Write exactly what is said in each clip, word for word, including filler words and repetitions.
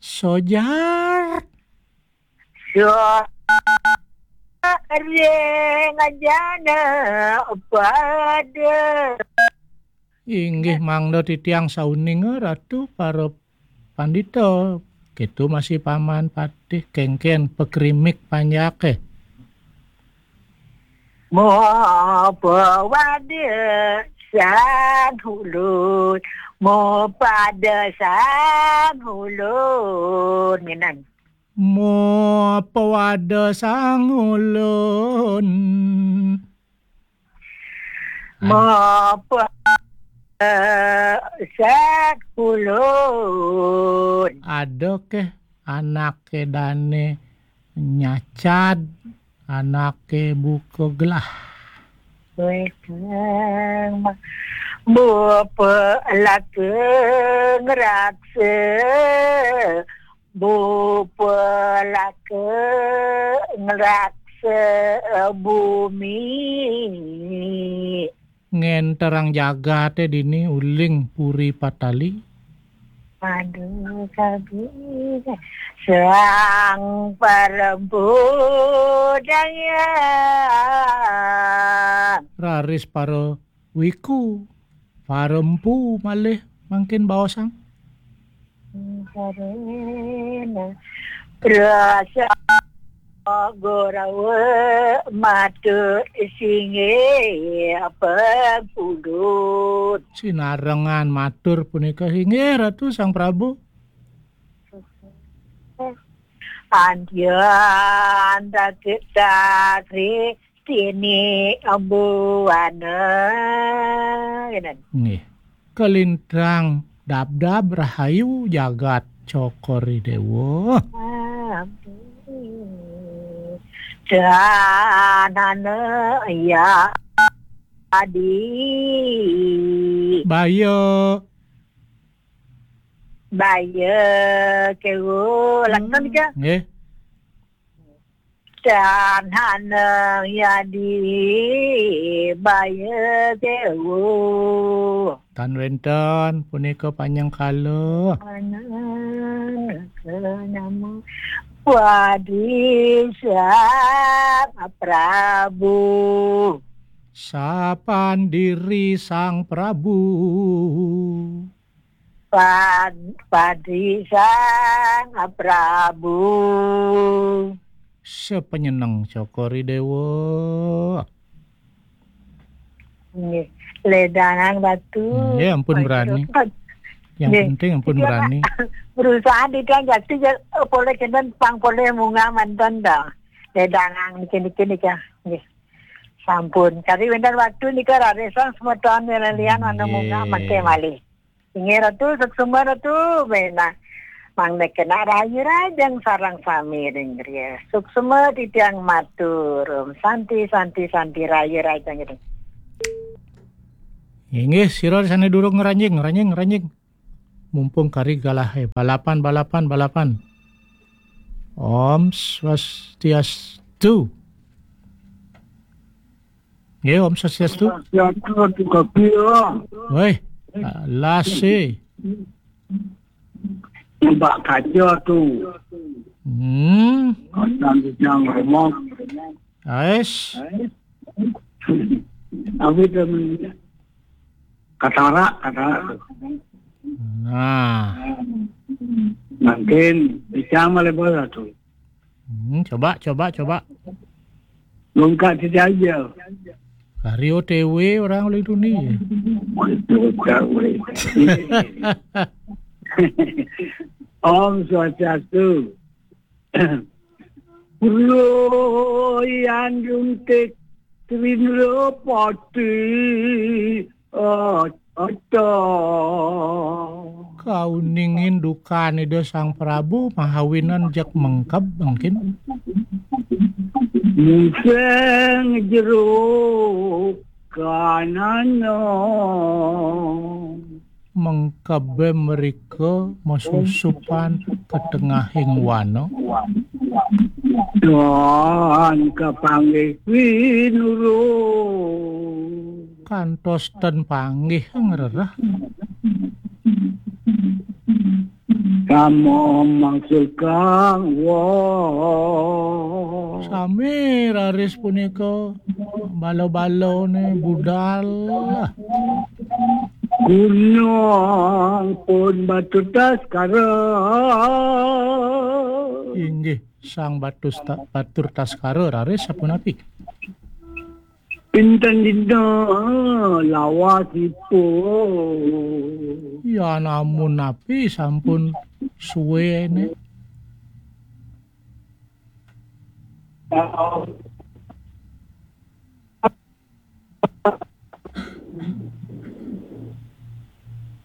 Sojar. Sojar ring jana pada. Inggih mangda titiang sauninga Ratu para pandita. Kitu masih Paman Patih, kengken pakrimik panjake. Mapawada sang ulun, mapada sang ulun. Minan. Mapawada sang ulun. Ad- Mapa sang ulun. Ada keh anake dane nyacad, anake buka gelah. Weteng ma-, bupa laka ngraksa, bupa laka ngraksa bumi. Ngenterang jagate dini uling puri patali. Aduh, kabeh. Sang parempu dayang. Raris para wiku, para empu malih mangkin baosang. Karena rasa Gorawa matur singgih pangudut. Sinarengan matur punika, inggih Ratu Sang Prabu. Andian dagit dagri sini buana. Ngenen. Nggih. Kalintang dabdab rahayu jagat Cokor I Dewa. Danana ya adi. Baya. Baya kewo. Lantan Hmm. Ika. Nggih. Danana ya di baya kewo. Tan wenten punika panyengkala. Panangka nama Padi Sang Prabu. Sapan diri Sang Prabu. Pad-, Padi Sang Prabu. Sepenyeneng Cokor I Dewa. Nggih. Ledangang Ratu. Nggih, ampun berani. Yang penting ampun berani. Berusaha di tiang jati, poleh kenten pang poleh munggah manten dah. Ledangang niki, niki, niki. Nggih. Sampun. Kari wenten waktu nika rarisang semeton lelian anu munggah mangke malih. Inggih Ratu, suksma Ratu, benah. Mangda kena rahayu rahajeng sareng sami ring griya. Suksma titiang matur. Om Santi, Santi, Santi, rahayu rahajeng ring. Inggih, sira sane durung ngranjing, ngranjing, ngranjing. Mumpung kari galahe. Balapan, balapan, balapan. Om Swastiastu. Nggih, Om Swastiastu. Swastiastu, Ratu Gabi, ya. Weh, lase. Mbak Kaja tu. Hmm. Kacang hijau remok. Ais. Tapi temen katarak, katarak tu. Nah. Mungkin bisa malih bola tu. Hmm, coba, coba, coba. Lungkat saja. Kari O T W orang oleh dunia. Lungkat, weh. Om Swastiastu. Royan runtik Trindra Pati. Oh, Ata. Kauning indukan Ida Sang Prabu mahawinan jak mengkeb mungkin. Museng jero kanana. Mengkebe mrika masusupan ke tengahing wana. Dan kapanggih pinurung. Kantos ten panggih ngrereh. Sama mangsul kang wong. Sami raris punika bala-balane budal. Gunung pun batu taskara. Inggih, Sang Batus Ta-, Batur Taskara raris sapunapi? Pinten dina lawasipun? Ya namun napi sampun suwene.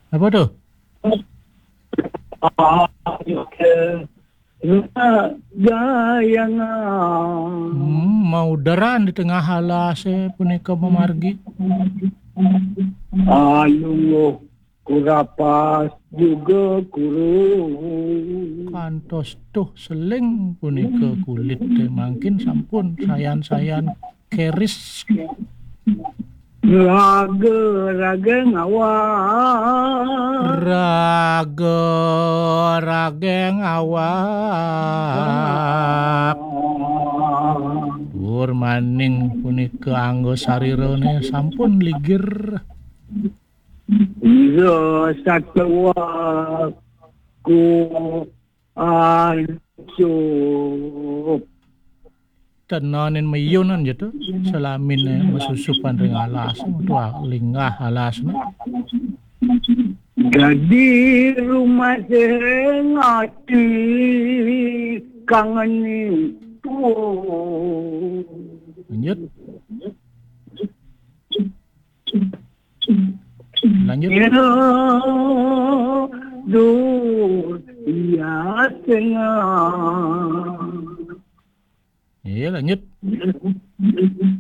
Apa tuh? Gayang. Hmm, maudaran di tengah alase punika mamargi. Alungguh kurapas juga kuru. Kantos tuh seling punika kulit teh mangkin sampun sayan-sayan keris. Raga-raga ngawak. Raga-raga ngawak. Purmaning punika anggo sarirane sampun ligir. Ira satua ku ancup. Tenanin meyunan gitu, selamine mesusupan ring alas, tuah linggah alas. Dadi rumah sing ati kangen itu. Lanjut. Lanjut. Ira dur iya tengah. Iya, lanjut.